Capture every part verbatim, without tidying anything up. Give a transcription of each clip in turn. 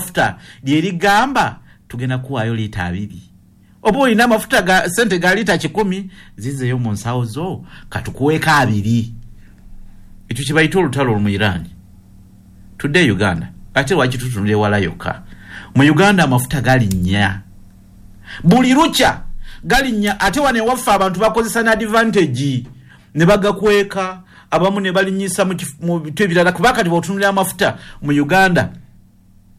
Ly'amafuta lyerigamba tugenda kuwaayo liita abiri, oba olina amafuta ga sente ga liita kikumi, zizeeyo mu nsawo zo, katukuweeko abiri. Ekyo kye bayita olutalo mu Iran. Tudde Uganda. Ate lwaki tutunula ewala yokka? Mu Uganda amafuta galinnya buli lukya, galinnya. Ate wano ewaffe abantu bakozesa ne advantage ne bagakweka, abamu ne balinnyisa mu bintu ebirala. Kuba kati bw'otunulira amafuta mu Uganda,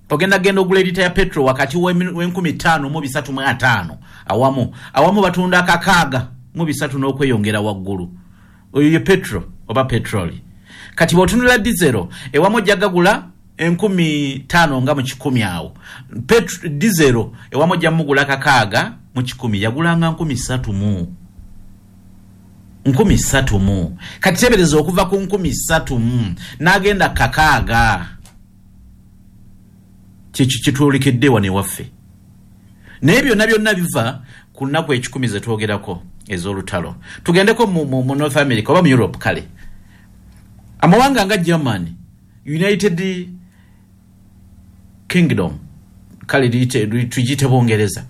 ogenda genda ogula erita ya petrol wakati w'enkumi ttaano mu bisatu mu ataano, awamu awamu batunda akakaaga mu bisatu n'okweyongera waggulu. Oyo ye petrol oba petroli. Kati bw'otunula diesel, ewamu ojja gagula enkumi ttaano nga mu kikumi awo. Diesel ewamu ojja mugula kakaaga mu kikumi, yagulanga nkumi ssatu mu nkumi ssatu mu. Kati teebereza okuva ku nkumi ssatu mu n'agenda kakaaga. Kyekyo kitwolekedde wano ewaffe. Naye byonna byonna biva ku nnaku ekikumi ze twogerako ez'olutalo. Tugendeko mu, mu, mu North America oba mu Europe. Kale amawanga nga Germany, United Kingdom, kale tugiyite Bungereza,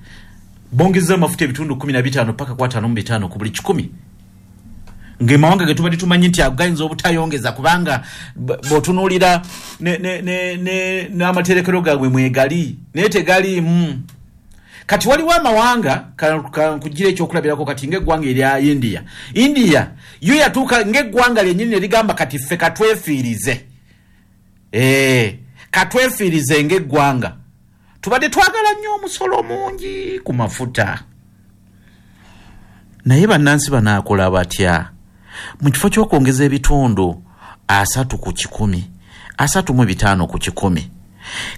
bongeza amafuta ebitundu kumi na bitaano paka ku ataano mu bitaano ku buli kikumi, ng'amawanga ge tubadde tumanyi nti agayinza obutayongeza, kubanga bw'otunuulira n'amaterekero gaabwe mwegali, naye tegaliimu. Kati waliwo amawanga, nkugira ekyokulabirako kati ng'eggwanga erya India. India yo yatuuka ng'eggwanga lyennyini ne ligamba, kati ffe katwefiirize, ee katwefiirize ng'eggwanga, tubadde twagala nnyo omusolo mungi ku mafuta, naye bannansi banaakola batya? Mu kifo ky'okwongeza ebitundu asatu ku kikumi, asatu mu bitaano ku kikumi,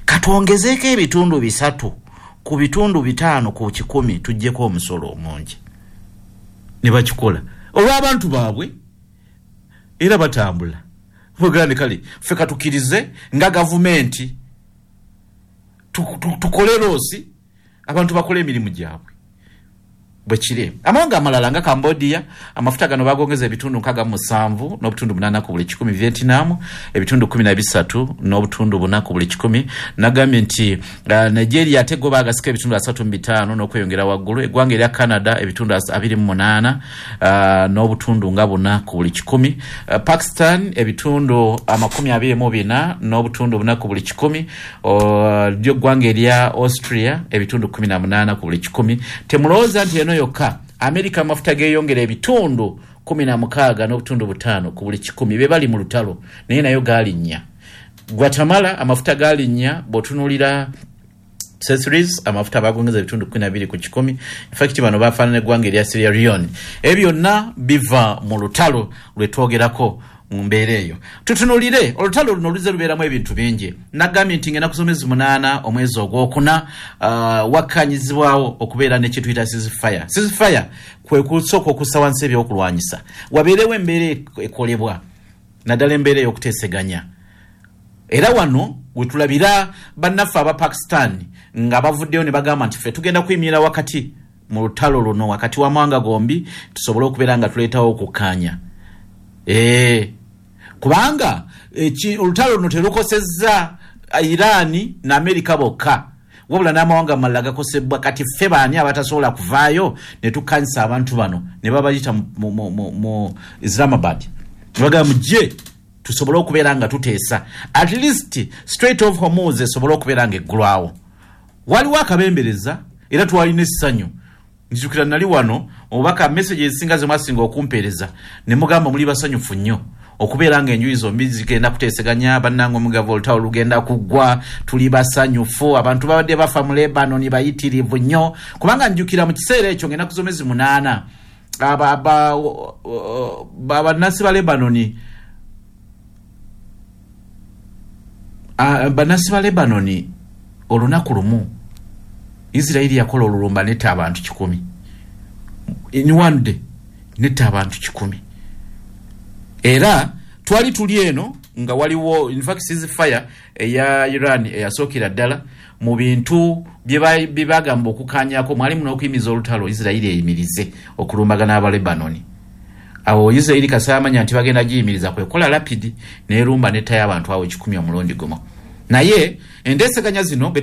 katwongezeeko ebitundu bisatu ku bitundu bitaano ku kikumi, tuggyeko omusolo omungi. Ne bakikola olw'abantu baabwe, era batambula bwegande. Kale ffe katukkirize nga gavumenti tukole loss, abantu bakole emirimu gyabwe. Bwe kiri. Amawanga amalala nga Cambodia, amafuta gano bagongeza ebitundu nkaaga mu musanvu n'obutundu munaana ku buli kikumi. Vietnam, ebitundu kumi na bisatu n'obutundu buna ku buli kikumi. Nagambye nti uh, Nigeria ate go bagasika ebitundu asatu mu bitaano n'okweyongera waggulu. Eggwanga erya Canada, ebitundu abiri mu munaana uh, n'obutundu nga buna ku buli kikumi. uh, Pakistan, ebitundu amakumi abiri mu bina n'obutundu buna ku buli kikumi. Lyo eggwanga erya Austria, ebitundu kumi na munaana ku buli kikumi. Temulowooza nti eno yokka. Amerika amafuta geeyongera ebitundu kumi na mukaaga n'obutundu butaano ku buli kikumi, be bali mu lutalo, naye nayo gaalinnya. Guatemala amafuta gaalinnya. Bw'otunuulira accessories, amafuta bagongeza ebitundu kumi na bibiri ku kikumi. In fact bano bafaanana eggwanga erya Sierra Leone. Ebyo byonna biva mu lutalo lwe twogerako. Mu mbeera eyo tutunulire olutalo luno luze lubeeramu ebintu bingi. Nagambye nti ngenda kusoma munaana omwezi ogwokuna, uh, wakkanyizibwawo okubeera nekituyita ceasefire. Ceasefire kwe kusooka okussa wansi ebyokulwanyisa, wabeerewo embeera ekolebwa, naddala embeera ey'okuteeseganya. Era wano wetulabira bannaffe aba Pakistan nga bavuddeyo ne bagamba nti ffe tugenda kuyimirira wakati mu lutalo luno, wakati w'amawanga gombi, tusobole okubeera nga tuleetawo okukkaanya. Ee kubanga olutalo luno terukosezza Irani ne Amerika bokka, wabula n'amawanga amalala gakosebwa. Kati ffe baani abatasobola kuvaayo ne tukkanyisa abantu bano? Ne babayita mu, mu, mu, mu Islamabad ne bagamba, mujje tusobole okubeera nga tuteesa, at least Strait of Hormuz esobole okubeera nga eggulwawo. Waliwo akabembereza, era twalina essanyu. Nzijukira nali wano, obubaka, message ezisinga zemwasinga okumpeereza ne mugamba muli basanyufu nnyo okubeera nga enjuyi zombi zigenda kuteeseganya. Bannange, omugavu, olutalo lugenda kuggwa, tuli basanyufu, abantu babadde bafa mu Lebanon bayitirivu nnyo. Kubanga njukira mu kiseera ekyo ng'ennaku z'omwezi munaana, bannansi ba Lebanoni bannansi ba Lebanoni olunaku lumu Isirairi yakola olulumba netta abantu kikumi. In one day netta abantu kikumi. Era twali tuli eno nga waliwo, in fact, ceasefire eya Iran eyasookera ddala, mu bintu bye bagamba okukanyako mwalimu n'okuyimiza olutalo, Isirairi eyimirize okulumbagana Abalebanoni. Awo Isirairi kasaamanya nti bagenda giyimiriza, kwekola rapid nerumba nettayo abantu awo ekikumi omulundi gumu. Naye enteeseganya zino